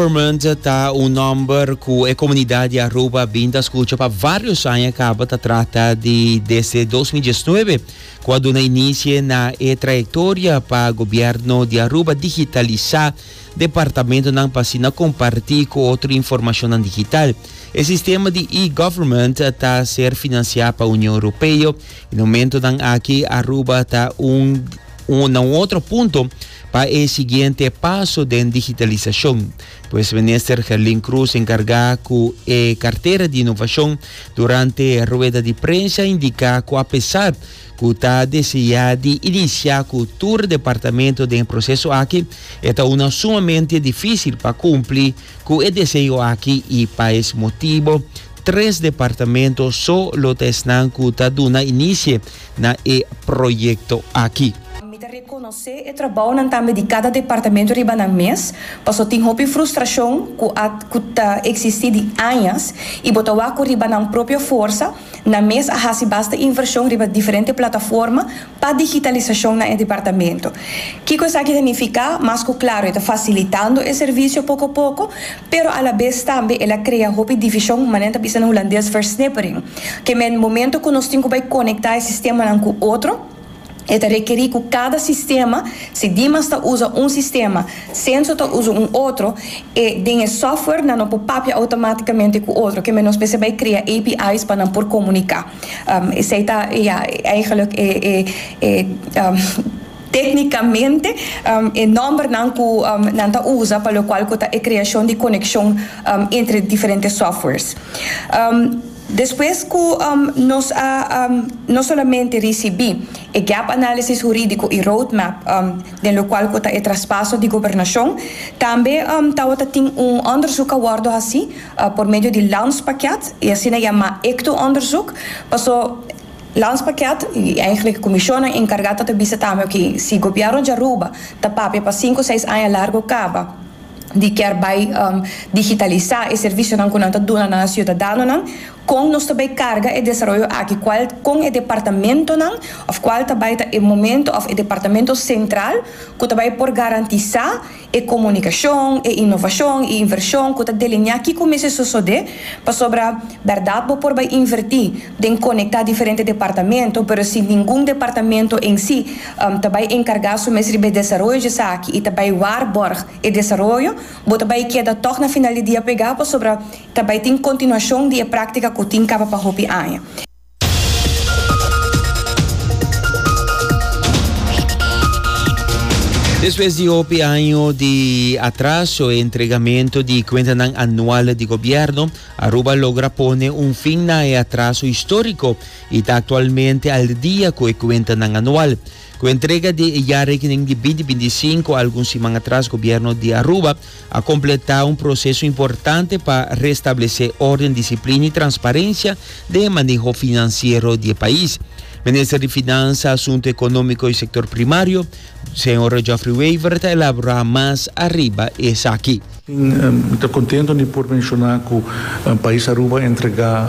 Government ta un nomber cu e comunidad di Aruba bin ta scucha pa varios aña caba. Ta trata di desde 2019 cu a duna inicie na e trayectoria pa gobierno di Aruba digitalisa departamentonan pa asina comparti cu otro informacionnan digital. E sistema di e-government ta ser financia pa Union Europeo y na momentonan aki Aruba ta un na un otro punto pa e siguiente paso den digitalisashon. Pues Minister Gerlin Croes enkargá ku e kartera di inovashon durante rueda di prensa a indiká ku apesar ku ta deseá di inisiá ku tur departamento den e proseso aki, e ta una sumamente difísil pa kumpli ku e deseo aki i pa es motibo tres departamento so lo ta esnan ku ta duna inisie na e proyekto aki. Mi ta rekonosé e trabounan tambe di kada departamento riba nan mes, paso tin hopi frustrashon ku a ku ta eksistí di añas i bo ta wak ku riba nan propio forsa nan mes a hasi basta invershon riba diferente plataforma pa digitalisashon na e departamento. Kiko esaki ta nifiká? Mas ku klaro e ta fasilitando e servisio poko poko, pero alabes tambe el a krea hopi divishon, manera ta bisa na hulandes versnippering. Ke men momento ku nos tin ku bai konektá e sistemanan ku otro, e ta rekerí ku kada sistema, si Dimas ta usa un sistema, Censo ta usa un otro, e den e software nan no por papia outomátikamente ku otro. Ke men nos mester bai krea API's pa nan por komuniká. Esei ta, ya, eigenlijk e e e téknikamente e nòmbernan ku nan ta usa pa lokual ku ta e kreashon di konekshon entre diferente softwares. Despues ku nos a no solamente risibí e gap analysis hurídiko i roadmap den lokual ku ta e traspaso di gobernashon, tambe tabata tin un òndersuk a wòrdu hasí por medio di landspakket, e asina yamá ecto-onderzoek, paso landspakket i eigenlijk e komishonnan enkargá ta ta bisa tambe oke si gobièrnu di Aruba ta papia pa sinku seis aña largu kaba di kier bai digitalisá e servisionan ku nan ta duna na siudadanonan, kon nos ta bai karga e desaroyo aki, kual kon e departamentonan òf kual ta bai ta e momento òf e departamento sentral ku ta bai por garantisá e komunikashon, e inovashon, e invershon ku ta delineá kiko mester sosodé, pasobra bèrdat bo por bai invertí den konektá diferente departamento, pero si ningun departamento en sí ta bai enkargá su mes riba e desaroyo djesaki i ta bai waarborg e desaroyo, bo ta bai keda tòg na final di dia pegá pasobra ta bai tin kontinuashon di e práktika ku tin kaba pa hopi aña. Despues di hopi año di atraso e entregamento di cuentanan anual di gobierno, Aruba logra pone un fin na e atraso historico y ta actualmente al dia cu e cuentanan anual. Cu entrega di e jaarrekening di 2025 algun siman atras gobierno di Aruba a kompletá un proseso importante pa restablesé órden, disiplina i transparensia den e maneho finansiero di e pais. Minister di Finansa, Asuntu Ekonómiko i Sektor Primario, señor Geoffrey Wever ta elaborá mas ariba esaki. Mi ta contento di por menciona cu pais Aruba a entrega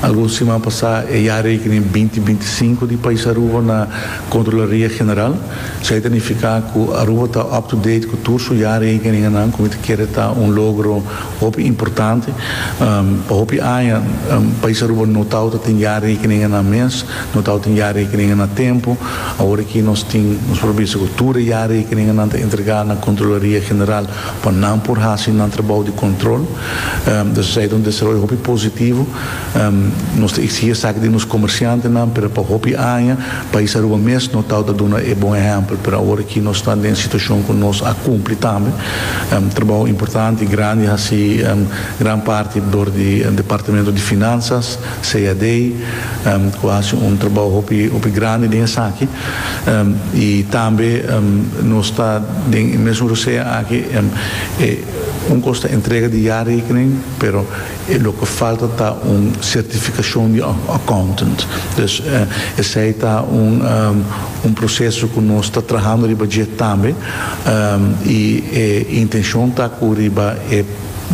algun siman pasa e jaarrekening binti binti sinku di pais Aruba na Controlaria General. Esei ta nifiká ku Aruba ta up to date ku tur su jaarrekeningennan, ku mi ta kere ta un logro hopi importante. Pa hopi aña pais Aruba no tabata tin jaarrekeningennan mes, no tabata tin jaarrekeningen na tempu. Awor aki nos tin, nos por bisa ku tur e jaarrekeningennan ta entregá na Kontrolaria General pa nan por hasi nan trabou di kontrol. Dus esei ta un desaroyo hopi positivo. Nos ta exigi esaki di nos comerciantenan, pero pa hopi aña pais Aruba mes no tawata duna e bon ehempel, pero awor aki nos ta den situacion cu nos a cumpli tambe. Trabao importante y grandi haci gran parti dor di Departamento di Finanzas, CAD, cu a haci un trabao hopi hopi grandi den esaki. Y tambe nos ta den e mesun rosea aki, e un cos ta entrega di jaarrekening, pero E loke falta ta un sertifikashon di accountant. Dus esei ta un un proseso ku nos ta trahando riba dje tambe i e intenshon ta ku riba e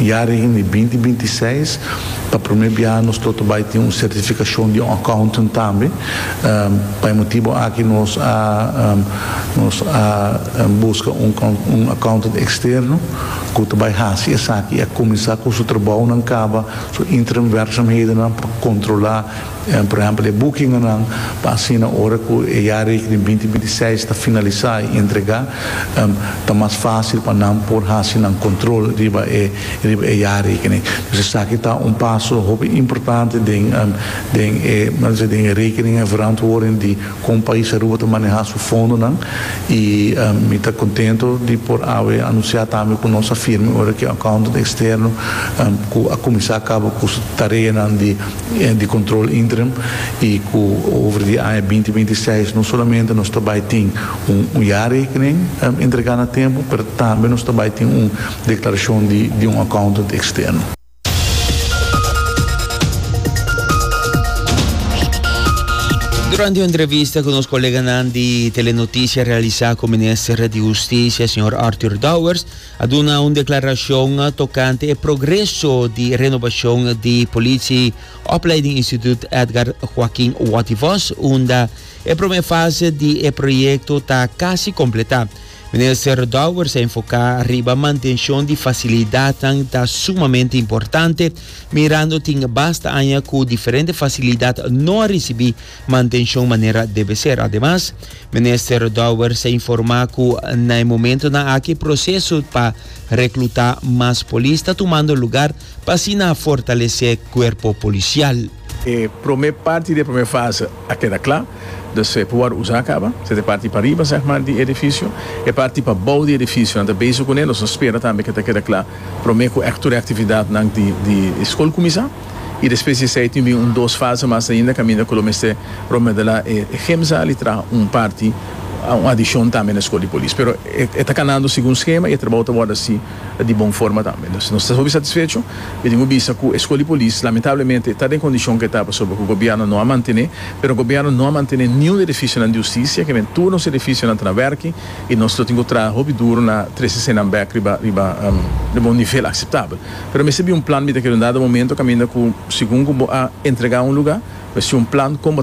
jaarrekening di binti binti seis pa prome biaha nos lo ta bai tin un sertifikashon di un accountant tambe. Pa e motibu aki nos a nos a buska un un accountant eksterno. ku ta bai hasi esaki a kuminsá ku su trabounan kaba, su interim werkzaamhedennan pa kontrolá por ehèmpel e boekingennan pa asina ora ku e jaarrekening 2026 ta finalisá i entregá ta mas fásil pa nan por hasi nan kontrol riba e riba e jaarrekening. Dus esaki ta un paso hopi importante den den e den e rekening en verantwoording di kon pais Aruba ta manehá su fondonan i mi ta kontento di por awe anunsiá tambe ku nos a firma ora ku e accountant eksterno ku a kuminsá kaba ku su tareanan di di kontrol interim i ku over di aña 2026 no solamente nos ta bai tin un jaarrekening entregá na tempu pero tambe nos ta bai tin un deklarashon di di un accountant eksterno. Durante un entrevista cu nos coleganan di Telenoticia realisa cu Minister di Husticia, señor Arthur Dowers, a duna un declaracion tocante e progreso di renovacion di Politie Opleiding Instituut Edgar Joaquin Watty Vos, unda e prome fase di e proyecto ta casi completa. Minister Dowers a enfoká riba mantenshon di fasilidatnan ta sumamente importante, mirando tin basta aña ku diferente fasilidat no a risibí mantenshon manera debe ser. Ademas, Minister Dowers a informá ku na e momentonan aki proseso pa reklutá mas polis ta tumando lugar pa asina fortalesé kuerpo polisial. E promé parti di e promé fase a keda kla, dus e por wòrdu usá kaba. Esei ta e parti pariba, sèg mar, di e edifisio. E parti pabou di e edifisio nan ta bezig kuné, nos ta spera tambe ku e ta keda kla promé ku ègt tur e aktividatnan di di skol kuminsá. I despues di esei tin bin un dos fase mas ainda kaminda ku lo mester remodelá e gymzaal i traha un parti, un adishon tambe na e skol di polis. Pero e ta kanando segun skema i e trabou ta wòrdu hasi di bon forma tambe. Nos nos ta hopi satisfecho. Mi tin ku bisa ku e skol di polis lamentablemente ta den kondishon ku e ta pasobra ku gobièrnu no a mantené, pero gobièrnu no a mantené niun edifisionan di hustisia, ke men tur nos edifisionan ta na wèrki i nos lo tin ku traha hopi duru na trese eseinan bèk riba riba riba un nivel akseptabel. Pero mester bin un plan, mi ta kere un dado momento kaminda ku segun ku bo a entregá un lugá, mester un plan kon bo ta.